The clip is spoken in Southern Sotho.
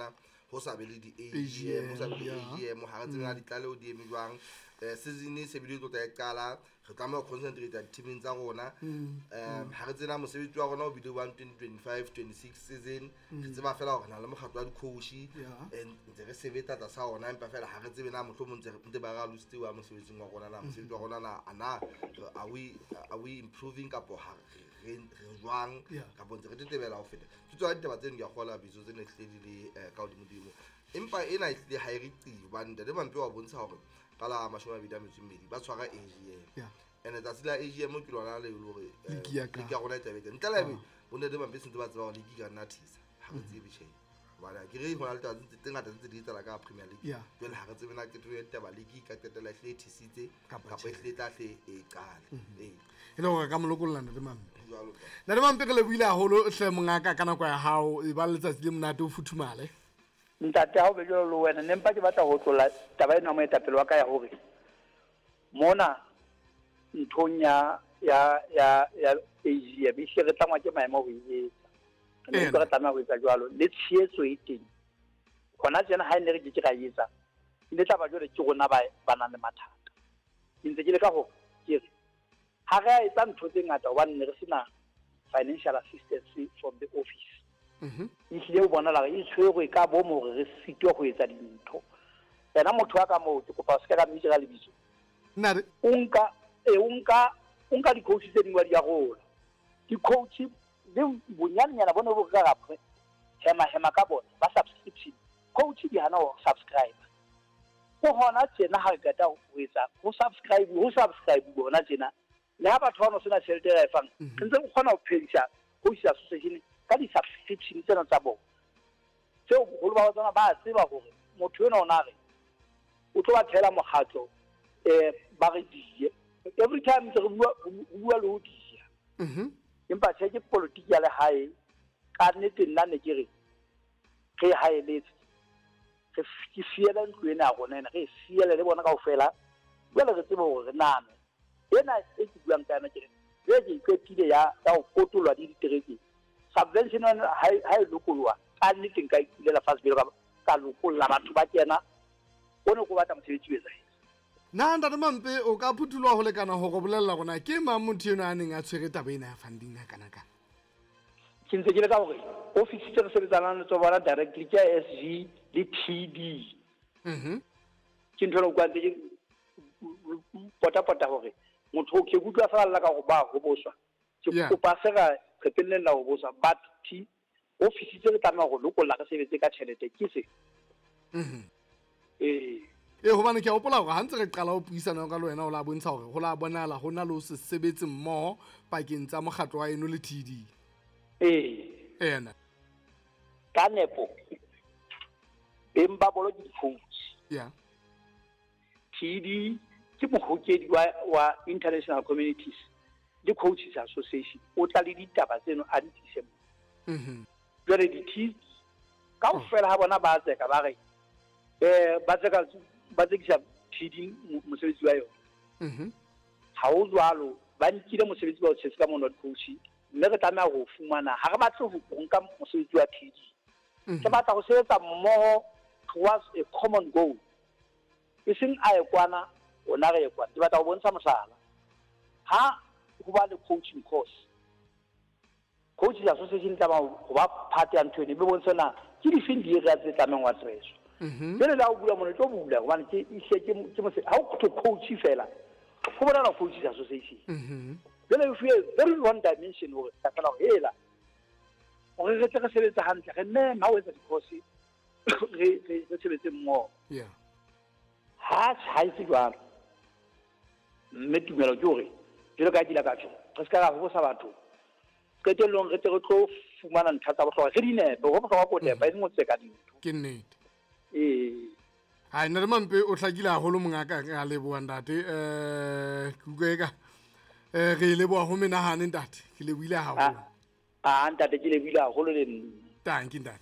tjena ho sa be le di-AGM, ho sa be le AGM, ha re tsebe na ditlaleho di eme jwang. Season e se bile e tlo tla e qala, re tlameha ho concentrate di-teaming tsa rona. Ha re tsena mosebetsi wa rona o bile wa 2025 26 season, re tseba fela hore re na le mokgatlo wa di-coach, and ntse re sebetsa tlasa ona, empa fela ha re tsebe na mohlomong ntse ba re alositse wa mosebetsing wa rona, na mosebetsi wa rona na a na are we improving kapo ha re jwang, kapo ntse re tetebela ho feta. Ke tsona ditaba tseno, ke a kgola bitso tsene hlile di le ka hodimodimo, empa ena e hlile ha e re qi, hobane ntate Mampe wa bontsha hore ka la 22 ba tshwara AGM. And tsatsi la AGM ke lona le le hore League ya ka. League ya rona e tlabe teng. Ntle le ebe bo ntate Mampe sentse ba tseba hore league e ka nna thisa, ha re tsebe tjhe, hobane ha ke re hona le taba tse ngata tse di etsahala ka Premier League. Jwale ha re tsebe na qeto ya ditaba league e ka qetella e hlile e thisitse Kapa kapa e tjhe. hlile e tla hle e qale, ee. E le hore ka mo lokolla ntate Mampe. Jwalo ka Ntate Mampe, re lebohile haholo hle mongaka ka nako ya hao, e ba letsatsi le monate, o futhumale. Ntate, ha o be jwalo le wena, ne mpa ke batla ho tlola taba ena ya moetapele wa ka ya hore mona nthong ya AGM e hle re tlangwa ke maemo ho e etsa. Re ne utlwa re tlameha ho etsa jwalo, le tshehetso e teng hona tjena. Ha e ne re ke ke ra e etsa, e ne tla ba jwale ke rona ba nang le mathata. Ke ntse ke leka hore ke re ha re a etsa ntho tse ngata hobane ne re sena financial assistance from the office. Ehlile o bonahala hore e tshwerwe ka bomo hore re sitwa ho etsa dintho. Yena motho wa ka moo, ke kopa o se ka ka mmitsa ka lebitso. Nare. O nka di-coach tse ding wa di arola di-coach le bonyanenyana bone bo re ka ra hema hema ka bona ba subscription. Coach di hana ho subscribe ho hona tjena. Ha re qeta ho etsa ho subscribe hona tjena, le ha batho ba no sena tjhelete e ra e fang, re ntse re kgona ho phedisa coaches association ka di-subscription tsena tsa bona, tseo boholo ba tsona ba tseba hore motho enwa o na re o tlo ba thela mokgatlo, ba re die every time ntse re bua le ho dia. Empa tjhe, ke politiki ya lehae ka nnete. Nna ne ke re re haeletse, ke fiele ntlo ena ya rona ena, re e fiele le bona kaofela. Jwale re tsebe hore re name ena e ke buang ka yona, ke re jwale ke e qetile ya ho potolwa le diterekeng. Subvention yona ha e lokoloha, ka nnete nka itulela fatshe pele ka lokolla batho ba kena o ne ko batla mosebetsi o etsahetse. Na ntate Mampe, o ka phuthuloha ho lekana hore bolella rona ke mang motho eno a neng a tshwere taba ena ya funding ha kana kana? Ke ntse ke le ka hore office tse re sebetsanang le tsona directly ke ya SG le TD. Ke ntho ena utlwa ntse ke pota-pota hore motho ke utlwa fela lla ka hore ba hoboswa. Ke kopa se ra qetelleng la hoboswa, but T office tse re tlameha ho lokolla re sebetse ka tjhelete ke se. Ee. E hobane ke a hopola hore ha ntse re qala ho puisana ka le wena, o la bontsha hore ho la bonahala ho na le ho se sebetse mmoho pakeng tsa mokgatlo wa eno le TD. Ee. Ena. Ka nepo beng ba bolo ke di-coach. TD ke mohokedi wa international communities le coaches association, o tla le ditaba tseno a di tlise mo. Jwale di-T kaofela ha bona ba tseka, ba re ba tseka, ba tsekisa TD mosebetsi wa yona. Ha ho jwalo, ba nkile mosebetsi ba o tshetse ka mono coach, mme re tlameha ho fumana. Ha re batle ho nka mosebetsi wa TD, re batla ho sebetsa mmoho towards a common goal, e seng a ye kwana, rona re ye kwana. Ke batla ho bontsha mohlala, ha ho ba le coaching course, coaches association tlameha ho ba part ya ntho eno, mme bontshe na ke difeng di-area tse tlamehang ho addresswa. Jwale le ha o bula mona, e tlo bula hobane ke ehlile ke ha o thwe coach fela, ho bolela coaches association. Jwale e fuwe very one dimension hore fela hore hela hore re tle re sebetse hantle, re meme ha o etsa di-course, re sebetse mmoho. Ha e se jwalo, mme tumelo ke hore jwalo ka ha ke ile ka tjho, re se ka ra hobosa batho, qetellong re tle re tlo fumana ntlha tsa bohlokwa, re di nepe. Ho bohlokwa ko nepa, e seng ho tseka dintho. Ke nnete. Ee. Hai, ntate Mampe, o hlakile haholo mongaka, re a leboha ntate. Ke utlwa eka re e leboha ho menahane ntate. Ke lebohile haholo. Ah, ntate, ke lebohile haholo le nna. Tanki ntate.